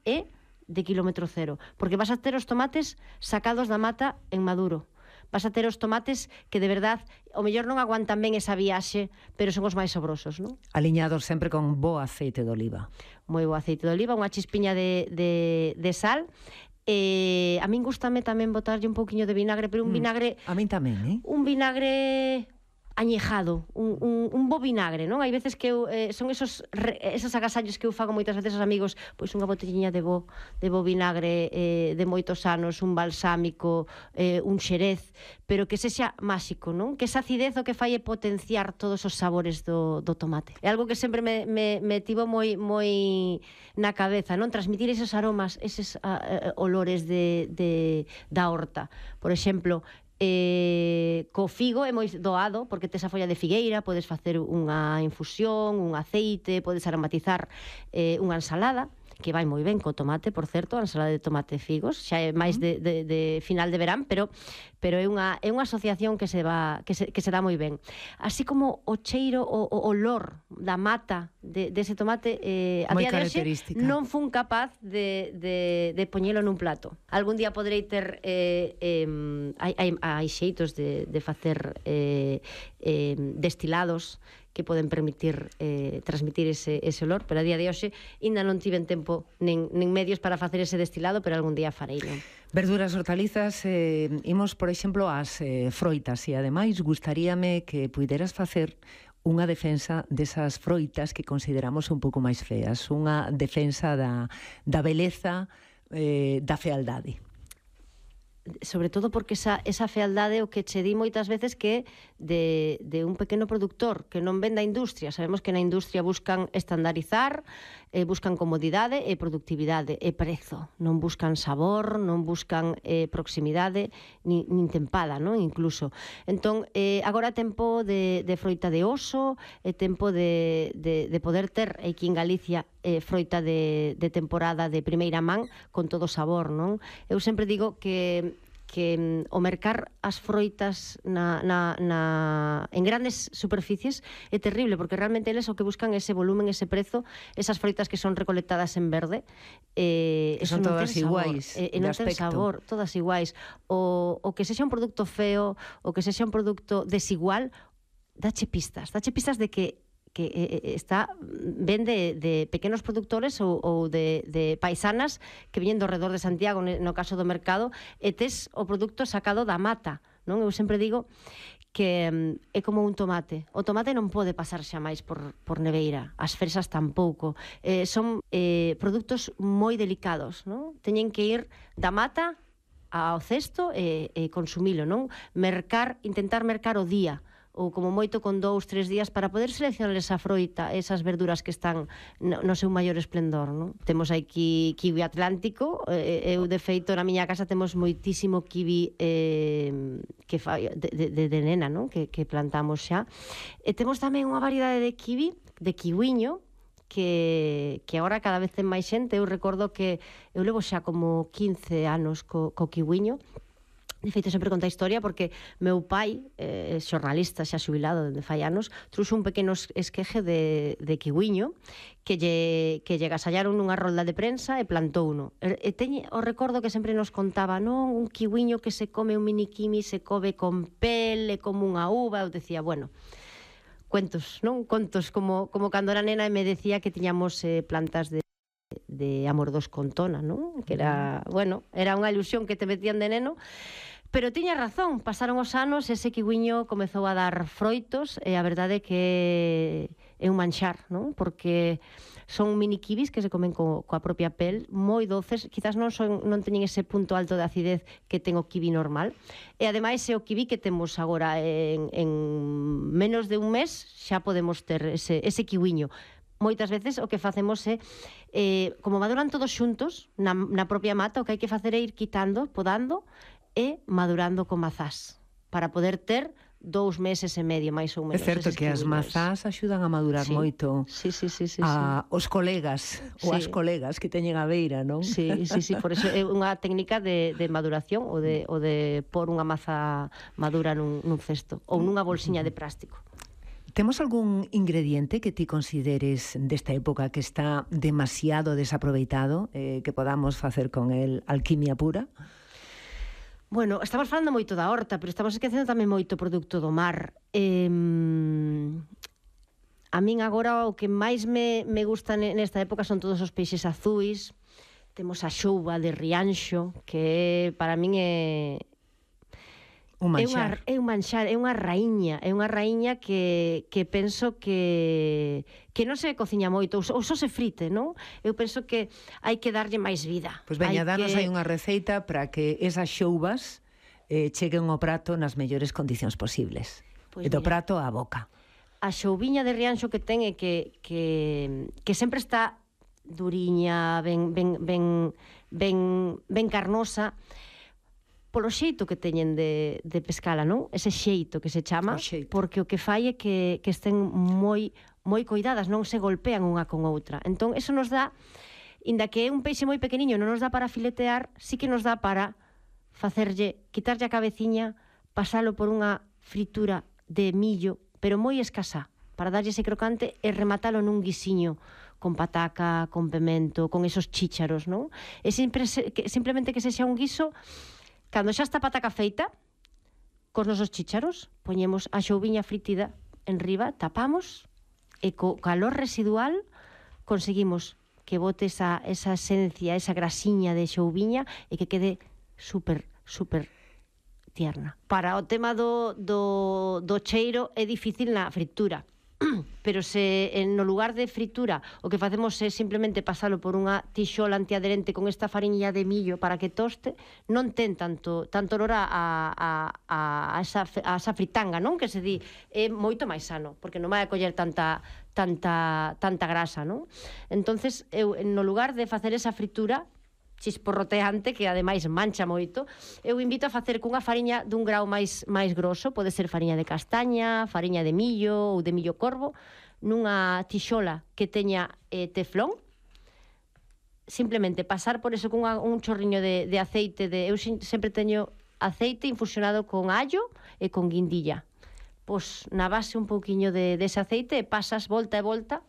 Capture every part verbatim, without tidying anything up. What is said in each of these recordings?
é de kilómetro cero, porque vas a ter os tomates sacados da mata en maduro. Vas a ter os tomates que de verdad o mellor non aguantan ben esa viaxe, pero son os máis sabrosos, non? Aliñados sempre con bo aceite de oliva. Moi bo aceite de oliva, unha chispiña de, de, de sal. Eh, a min gustame tamén botarlle un pouquiño de vinagre, pero un Mm, vinagre... a min tamén, eh? Un vinagre añejado, un, un, un bo vinagre, non? Hai veces que eu, eh, son esos re, esos agasallos que eu fago moitas veces aos amigos, pois unha botelliña de bo, de bo vinagre eh, de moitos anos, un balsámico, eh, un xerez, pero que sexa máxico, non? Que esa acidez o que fai é potenciar todos os sabores do, do tomate. É algo que sempre me, me, me tivo moi, moi na cabeza, non? Transmitir esos aromas, eses uh, olores de, de, da horta. Por exemplo, Eh, co figo é moi doado porque tes a folla de figueira, podes facer unha infusión, un aceite, podes aromatizar eh, unha ensalada que vai moi ben co tomate, por certo, a ensalada de tomate e figos, xa é máis de, de, de final de verán, pero pero é unha é unha asociación que se va que se, que se dá moi ben. Así como o cheiro, o, o olor da mata de dese de tomate eh, a moi día de hoxe non fun capaz de, de, de poñelo nun plato. Algún día poderei ter eh, eh, hai, hai, hai xeitos de, de facer eh, eh, destilados que poden permitir eh, transmitir ese, ese olor, pero a día de hoxe ainda non tiven tempo nen, nen medios para facer ese destilado, pero algún día farei, non? Verduras, hortalizas, eh, imos, por exemplo, ás eh, froitas, e ademais gustaríame que puideras facer unha defensa desas froitas que consideramos un pouco máis feas, unha defensa da, da beleza, eh, da fealdade. Sobre todo porque esa, esa fealdade o que che di moitas veces que de, de un pequeno productor que non vende a industria. Sabemos que na industria buscan estandarizar, eh, buscan comodidade e productividade e prezo. Non buscan sabor, non buscan eh, proximidade, nin, nin tempada, non? Incluso. Entón, eh, agora tempo de, de froita de oso, é tempo de, de, de poder ter aquí en Galicia eh, froita de, de temporada de primeira man con todo sabor, non? Eu sempre digo que que mm, o mercar as froitas na, na, na, en grandes superficies é terrible, porque realmente eles o que buscan é ese volumen, ese prezo, esas froitas que son recolectadas en verde, eh, que son todas iguais, e eh, non ten sabor, todas iguais. O, o que sexa un produto feo, o que sexa un produto desigual, dache pistas, dache pistas de que que eh, está ben de, de pequenos productores ou, ou de, de paisanas que viñen do redor de Santiago, no caso do mercado, e tes o produto sacado da mata, non? Eu sempre digo que um, é como un tomate. O tomate non pode pasar xa máis por, por neveira, as fresas tampouco. Eh, son eh, produtos moi delicados, non? Teñen que ir da mata ao cesto e, e consumilo, non? Mercar, intentar mercar o día, ou como moito con dous, tres días para poder seleccionar esa froita, esas verduras que están no, no seu maior esplendor, non? Temos aquí kiwi atlántico, eh, eu de feito na miña casa temos moitísimo kiwi eh, que fa, de, de, de nena, non? Que, que plantamos xa. E temos tamén unha variedade de kiwi, de kiwiño, que, que agora cada vez ten máis xente. Eu recordo que eu levo xa como quince anos co, co kiwiño. De feito, sempre conta a historia porque meu pai, eh, xornalista xa xubilado dende fai anos, trouxe un pequeno esqueje de, de kiwiño que lle, que lle gasallaron nunha rolda de prensa e plantouno. E, e teñe o recordo que sempre nos contaba, non, un kiwiño que se come, un mini kimi se come con pel, é como unha uva. Eu decía, bueno, cuentos, non? Contos como, como cando era nena e me decía que tiñamos eh, plantas de de amordos con tona, non? Que era, bueno, era unha ilusión que te metían de neno, pero tiña razón, pasaron os anos, ese kiwiño comezou a dar froitos e a verdade é que é un manxar, non? Porque son mini kiwis que se comen co, coa propia pel, moi doces, quizás non son non teñen ese punto alto de acidez que ten o kiwi normal, e ademais é o kiwi que temos agora en, en menos de un mes xa podemos ter ese, ese kiwiño. Moitas veces o que facemos é, eh, como maduran todos xuntos na, na propia mata, o que hai que facer é ir quitando, podando e madurando con mazás para poder ter dous meses e medio, máis ou menos. É certo que as mazás axudan a madurar sí. moito sí, sí, sí, sí, a sí. os colegas sí. ou as colegas que teñen a beira, non? Sí, sí, sí, por eso é unha técnica de, de maduración ou de, ou de pôr unha maza madura nun, nun cesto ou nunha bolsiña de plástico. Temos algún ingrediente que ti consideres desta época que está demasiado desaproveitado, eh, que podamos facer con el alquimia pura? Bueno, estamos falando moito da horta, pero estamos esquecendo tamén moito produto do mar. Eh, a min agora o que máis me, me gusta nesta época son todos os peixes azuis. Temos a xouba de Rianxo, que para min é... Un manxar. É, unha, é un manxar, é unha raíña, é unha raíña que, que penso que que non se cociña moito, ou só, ou só se frite, non? Eu penso que hai que darlle máis vida. Pois veña, danos que... aí unha receita para que esas xoubas eh, cheguen ao prato nas mellores condicións posibles. Pois e do mira, prato á boca. A xoubiña de Rianxo que ten é que, que, que sempre está duriña, ben, ben, ben, ben, ben carnosa, polo xeito que teñen de, de pescala, non? Ese xeito que se chama, porque o que fai é que, que estén moi moi coidadas, non se golpean unha con outra. Entón, eso nos dá, inda que é un peixe moi pequeniño, non nos dá para filetear, sí que nos dá para facerlle, quitarlle a cabeciña, pasalo por unha fritura de millo, pero moi escasa, para darlle ese crocante e rematalo nun guisiño con pataca, con pemento, con esos chícharos, non? E sempre, que, simplemente que sexa un guiso. Cando xa está a pataca feita, cos nosos chícharos, poñemos a xoubiña fritida en riba, tapamos, e co calor residual conseguimos que bote esa, esa esencia, esa grasiña de xoubiña e que quede super, super tierna. Para o tema do, do, do cheiro é difícil na fritura, pero se no lugar de fritura o que facemos é simplemente pasalo por unha tixola antiaderente con esta fariña de millo para que toste, non ten tanto tanto olor a, a, a, a, esa, a esa fritanga, non? Que se di, é moito máis sano, porque non vai a coller tanta tanta tanta grasa, non? Entonces, eu no lugar de facer esa fritura chisporroteante, que ademais mancha moito, eu invito a facer cunha fariña dun grau máis máis grosso, pode ser fariña de castaña, fariña de millo ou de millo corvo, nunha tixola que teña eh, teflón, simplemente pasar por eso cunha, un chorriño de, de aceite, de, eu sempre teño aceite infusionado con allo e con guindilla. Pois na base un pouquiño de, dese aceite e pasas volta e volta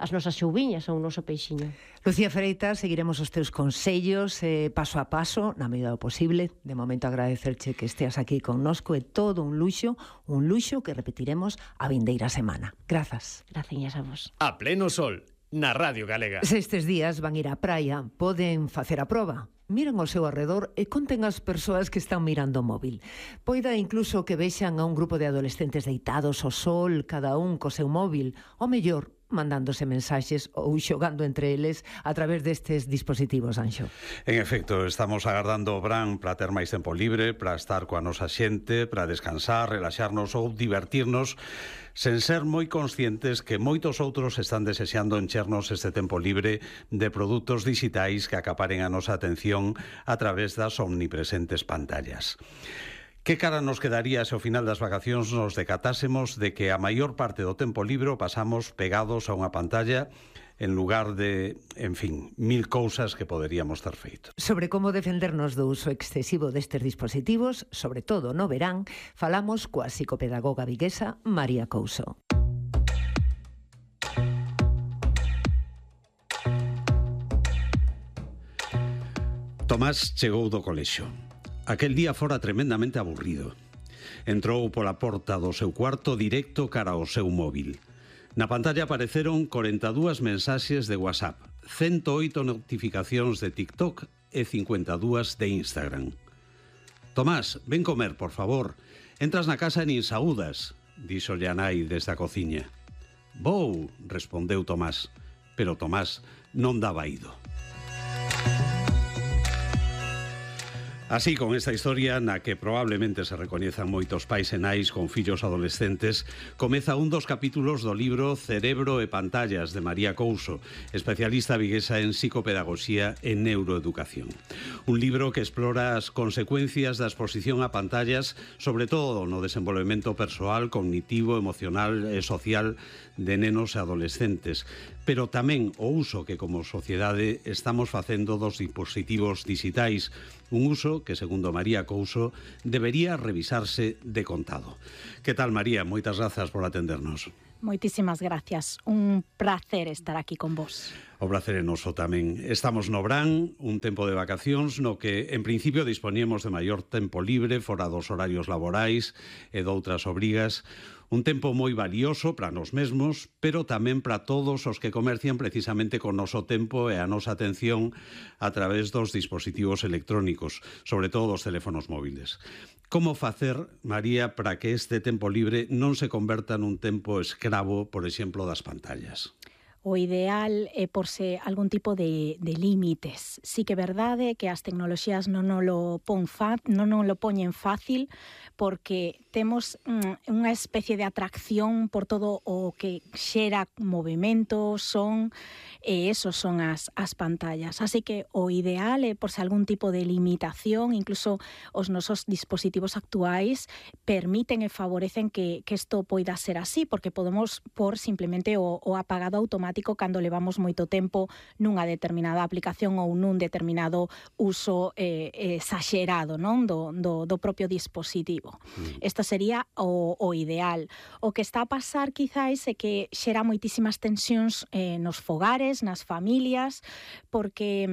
as nosas xoubiñas ou o noso peixiño. Lucía Freitas, seguiremos os teus consellos eh, paso a paso, na medida do posible. De momento agradecerche que esteas aquí connosco, é todo un luxo, un luxo que repetiremos a vindeira semana. Grazas. Graciñas a vos. A pleno sol, na Radio Galega. Se estes días van ir á praia, poden facer a proba. Miren ao seu arredor e conten as persoas que están mirando o móvil. Poida incluso que vexan a un grupo de adolescentes deitados ao sol, cada un co seu móvil, o mellor mandándose mensaxes ou xogando entre eles a través destes dispositivos, Anxo. En efecto, estamos agardando o verán para ter máis tempo libre, para estar coa nosa xente, para descansar, relaxarnos ou divertirnos, sen ser moi conscientes que moitos outros están desexando enchernos este tempo libre de produtos digitais que acaparen a nosa atención a través das omnipresentes pantallas. Que cara nos quedaría se ao final das vacacións nos decatásemos de que a maior parte do tempo libre pasamos pegados a unha pantalla en lugar de, en fin, mil cousas que poderíamos ter feito. Sobre como defendernos do uso excesivo destes dispositivos, sobre todo no verán, falamos coa psicopedagoga viguesa María Couso. Tomás chegou do colexio. Aquel día fora tremendamente aburrido. Entrou pola porta do seu cuarto directo cara ao seu móvil. Na pantalla apareceron corenta e dúas mensaxes de WhatsApp, ciento oito notificacións de TikTok e cincuenta e dúas de Instagram. Tomás, ven comer, por favor. Entras na casa e nin saúdas, díxolle a nai desde a cociña. Vou, respondeu Tomás, pero Tomás non daba ido. Así, con esta historia, na que probablemente se recoñezan moitos pais e nais con fillos adolescentes, comeza un dos capítulos do libro Cerebro e Pantallas, de María Couso, especialista viguesa en psicopedagogía e neuroeducación. Un libro que explora as consecuencias da exposición a pantallas, sobre todo no desenvolvemento persoal, cognitivo, emocional e social de nenos e adolescentes, pero tamén o uso que como sociedade estamos facendo dos dispositivos digitais, un uso que, segundo María Couso, debería revisarse de contado. Que tal, María? Moitas grazas por atendernos. Moitísimas gracias. Un placer estar aquí con vos. O prazer é noso tamén. Estamos no verán, un tempo de vacacións no que, en principio, dispoñemos de maior tempo libre fora dos horarios laborais e doutras obrigas. Un tempo moi valioso para nós mesmos, pero tamén para todos os que comercian precisamente con noso tempo e a nosa atención a través dos dispositivos electrónicos, sobre todo dos teléfonos móviles. Como facer, María, para que este tempo libre non se converta nun tempo escravo, por exemplo, das pantallas? O ideal é porse algún tipo de, de límites. Sí que é verdade que as tecnoloxías non nos lo, pon fa, non nos lo poñen fácil, porque temos mm, unha especie de atracción por todo o que xera movimento, son, e esos son as, as pantallas. Así que o ideal é porse algún tipo de limitación, incluso os nosos dispositivos actuais permiten e favorecen que, que isto poida ser así, porque podemos por simplemente o, o apagado automático cando levamos moito tempo nunha determinada aplicación ou nun determinado uso eh, exagerado, non, do, do, do propio dispositivo. Isto sería o, o ideal. O que está a pasar quizáis é que xera moitísimas tensións eh, nos fogares, nas familias, porque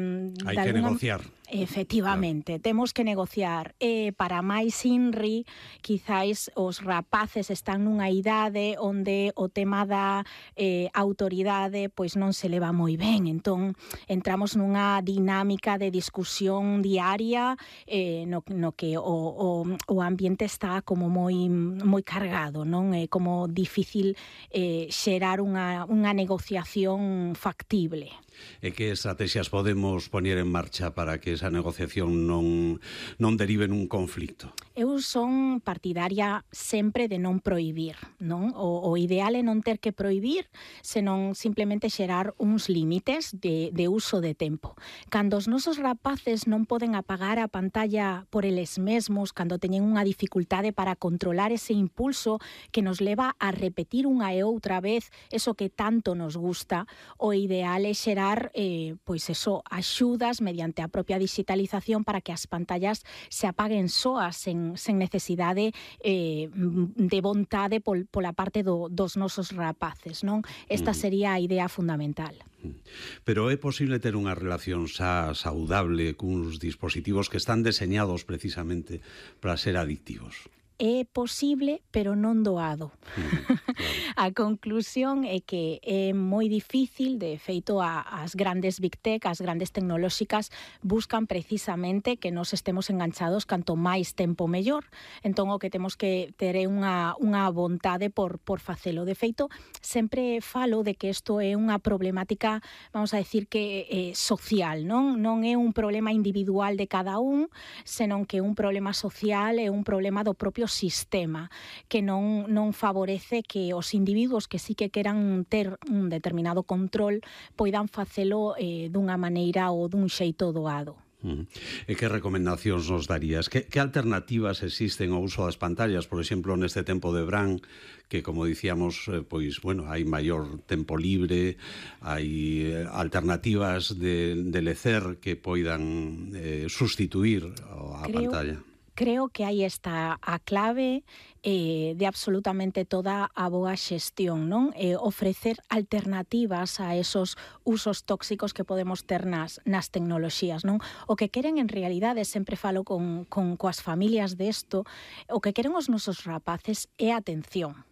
hai que alguna... negociar. Efectivamente, claro. Temos que negociar. E para máis inri, quizáis os rapaces están nunha idade onde o tema da eh, autoridade pois non se leva moi ben. Entón, entramos nunha dinámica de discusión diaria eh, no, no que o, o, o ambiente está como moi moi cargado, non? É como difícil eh, xerar unha, unha negociación factible. E que estrategias podemos poñer en marcha para que esa negociación non, non derive nun conflicto? Eu son partidaria sempre de non prohibir, non? O, o ideal é non ter que prohibir, senón simplemente xerar uns límites de, de uso de tempo. Cando os nosos rapaces non poden apagar a pantalla por eles mesmos, cando teñen unha dificultade para controlar ese impulso que nos leva a repetir unha e outra vez eso que tanto nos gusta, o ideal é xerar eh, pois eso, axudas mediante a propia digitalización para que as pantallas se apaguen soas sen, sen necesidade eh, de vontade pol, pola parte do, dos nosos rapaces, non? Esta sería a idea fundamental. Pero é posible ter unha relación xa saudable cuns dispositivos que están deseñados precisamente para ser adictivos? É posible, pero non doado. Mm, claro. A conclusión é que é moi difícil, de feito, a, as grandes big tech, as grandes tecnolóxicas, buscan precisamente que nos estemos enganchados canto máis tempo mellor. Entón, o que temos que ter é unha, unha vontade por, por facelo. De feito, sempre falo de que isto é unha problemática, vamos a decir que eh, social, non? Non é un problema individual de cada un, senón que é un problema social, é un problema do propio sistema que non, non favorece que os individuos que sí que queran ter un determinado control poidan facelo eh, dunha maneira ou dun xeito doado. Mm. E que recomendacións nos darías? Que, que alternativas existen ao uso das pantallas, por exemplo, neste tempo de verán, que, como dicíamos, eh, pois, bueno, hai maior tempo libre, hai alternativas de, de lecer que poidan eh, sustituir a Creo... pantalla? Creo que aí está a clave eh, de absolutamente toda a boa xestión, non? Eh, ofrecer alternativas a esos usos tóxicos que podemos ter nas, nas tecnoloxías, non? O que queren en realidade, sempre falo con, con coas familias desto, o que queren os nosos rapaces é atención.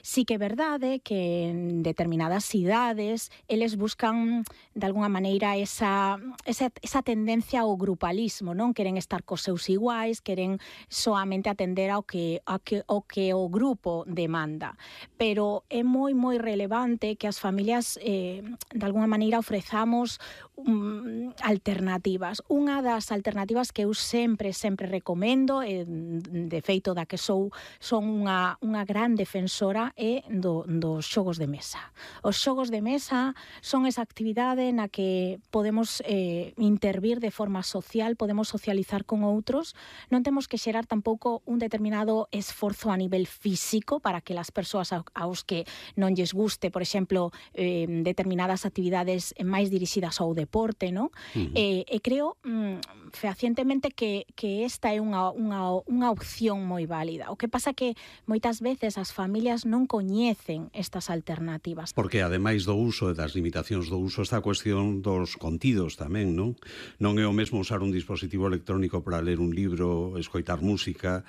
Sí que é verdade que en determinadas idades eles buscan de alguna maneira esa, esa, esa tendencia ao grupalismo, non? Queren estar cos seus iguais, queren soamente atender ao que, ao que, ao que o grupo demanda. Pero é moi, moi relevante que as familias eh, de alguna maneira ofrezamos um, alternativas. Unha das alternativas que eu sempre, sempre recomendo, eh, de feito da que sou, son unha, unha gran defensora, é do, dos xogos de mesa. Os xogos de mesa son esa actividade na que podemos eh, intervir de forma social, podemos socializar con outros, non temos que xerar tampouco un determinado esforzo a nivel físico para que as persoas aos que non lles guste, por exemplo, eh, determinadas actividades máis dirixidas ao deporte, non? Uh-huh. E, e creo mm, fehacientemente que, que esta é unha, unha, unha opción moi válida. O que pasa que moitas veces as familias familias non coñecen estas alternativas. Porque ademais do uso e das limitacións do uso está a cuestión dos contidos tamén, non? Non é o mesmo usar un dispositivo electrónico para ler un libro, escoitar música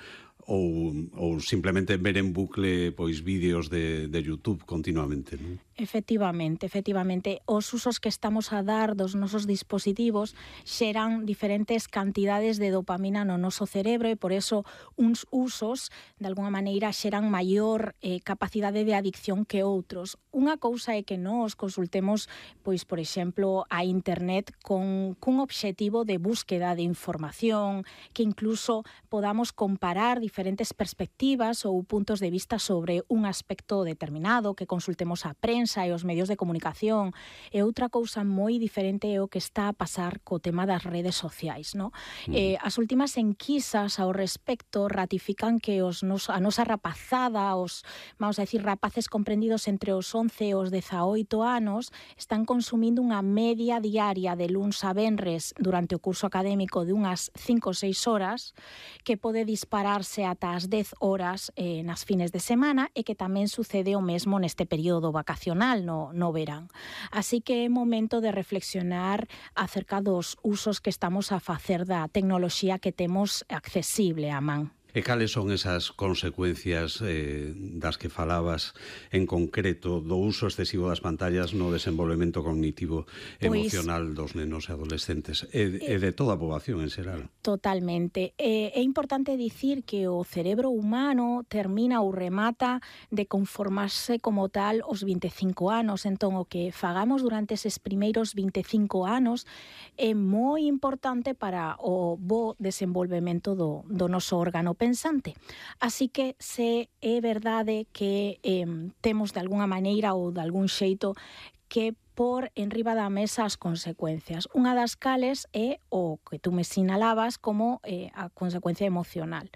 ou, ou simplemente ver en bucle pois vídeos de, de YouTube continuamente, non? Efectivamente, efectivamente, os usos que estamos a dar dos nosos dispositivos xeran diferentes cantidades de dopamina no noso cerebro e por eso uns usos, de alguna maneira, xeran maior eh, capacidade de adicción que outros. Unha cousa é que nós consultemos, pois, por exemplo, a internet con cun obxectivo de búsqueda de información, que incluso podamos comparar diferentes perspectivas ou puntos de vista sobre un aspecto determinado, que consultemos a prensa e os medios de comunicación. E outra cousa moi diferente é o que está a pasar co tema das redes sociais, no? Mm. Eh, as últimas enquisas ao respecto ratifican que os nos, a nosa rapazada, os, vamos a decir, rapaces comprendidos entre os once e os dezaoito anos, están consumindo unha media diaria de luns a venres durante o curso académico de unhas cinco ou seis horas, que pode dispararse ata as dez horas eh, nas fines de semana e que tamén sucede o mesmo neste período vacacional no, no verán. Así que é momento de reflexionar acerca dos usos que estamos a facer da tecnoloxía que temos accesible á man. E cales son esas consecuencias eh, das que falabas en concreto do uso excesivo das pantallas no desenvolvemento cognitivo e pois, emocional dos nenos e adolescentes e, e de toda a poboación en xeral? Totalmente. É, é importante dicir que o cerebro humano termina ou remata de conformarse como tal os vinte e cinco anos. Entón, o que fagamos durante eses primeiros vinte e cinco anos é moi importante para o bo desenvolvemento do, do noso órgano pensante. Así que se é verdade que eh, temos de alguna maneira ou de algún xeito que por enriba da mesa as consecuencias. Unha das cales é o que tú me sinalabas como eh, a consecuencia emocional.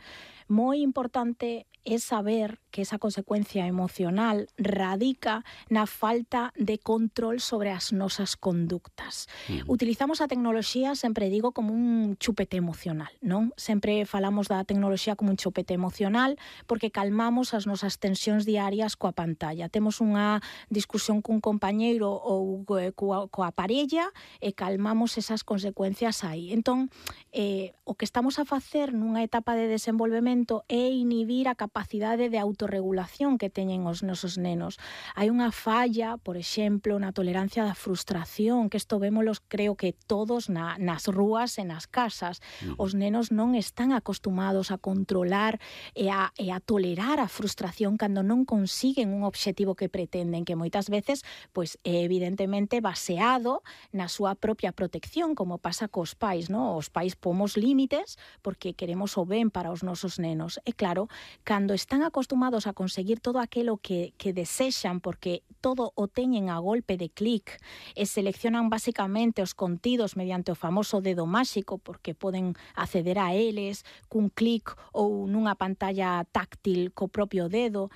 Moi importante é saber que esa consecuencia emocional radica na falta de control sobre as nosas conductas. Uh-huh. Utilizamos a tecnoloxía, sempre digo, como un chupete emocional, non? Sempre falamos da tecnoloxía como un chupete emocional porque calmamos as nosas tensións diarias coa pantalla. Temos unha discusión cun compañeiro ou coa, coa parella e calmamos esas consecuencias aí. Entón, eh, o que estamos a facer nunha etapa de desenvolvemento é inhibir a capacidade de autorregulación que teñen os nosos nenos. Hai unha falla, por exemplo, na tolerancia da frustración, que isto vémolos, creo que todos na, nas rúas e nas casas. Os nenos non están acostumados a controlar e a, e a tolerar a frustración cando non consiguen un obxectivo que pretenden, que moitas veces pois, é evidentemente baseado na súa propia protección, como pasa cos pais, non? Os pais pomos límites porque queremos o ben para os nosos nenos. E claro, cando están acostumados a conseguir todo aquilo que, que desexan, porque todo o teñen a golpe de clic e seleccionan basicamente os contidos mediante o famoso dedo máxico, porque poden acceder a eles cun clic ou nunha pantalla táctil co propio dedo,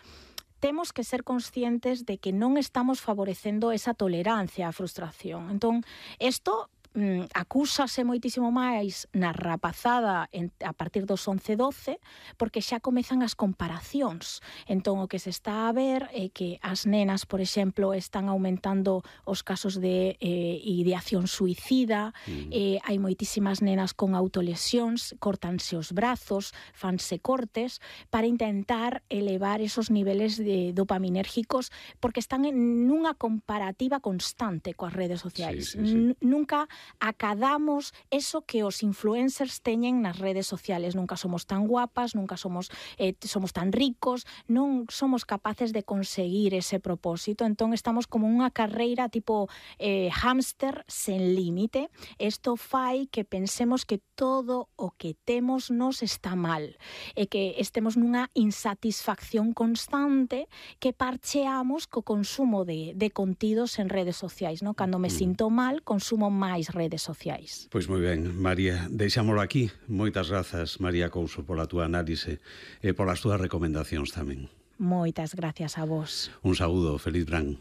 temos que ser conscientes de que non estamos favorecendo esa tolerancia á frustración. Entón, isto mm, acúsase moitísimo máis na rapazada en, a partir dos once doce, porque xa comezan as comparacións. Entón, o que se está a ver é que as nenas, por exemplo, están aumentando os casos de eh, ideación suicida, mm. eh, hai moitísimas nenas con autolesións, cortanse os brazos, fanse cortes, para intentar elevar esos niveles de dopaminérgicos, porque están en nunha comparativa constante coas redes sociais. Sí, sí, sí. Nunca acadamos eso que os influencers teñen nas redes sociales. Nunca somos tan guapas, nunca somos eh, somos tan ricos, non somos capaces de conseguir ese propósito. Entón estamos como unha carreira tipo eh, hámster sen límite. Isto fai que pensemos que todo o que temos nos está mal e que estemos nunha insatisfacción constante que parcheamos co consumo de, de contidos en redes sociais, non? Cando me sinto mal, consumo máis redes sociais. Pois moi ben, María, deixámolo aquí. Moitas grazas, María Couso, pola túa análise e polas túas recomendacións tamén. Moitas gracias a vos. Un saúdo, feliz verán.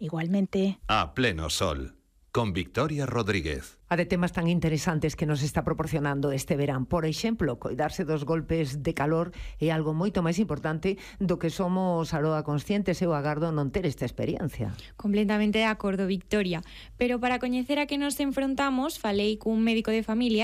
Igualmente. A pleno sol, con Victoria Rodríguez. A de temas tan interesantes que nos está proporcionando este verán. Por exemplo, coidarse dos golpes de calor é algo moito máis importante do que somos aroa conscientes. Eu agardo non ter esta experiencia. Completamente de acordo, Victoria. Pero para coñecer a que nos enfrontamos, falei cun médico de familia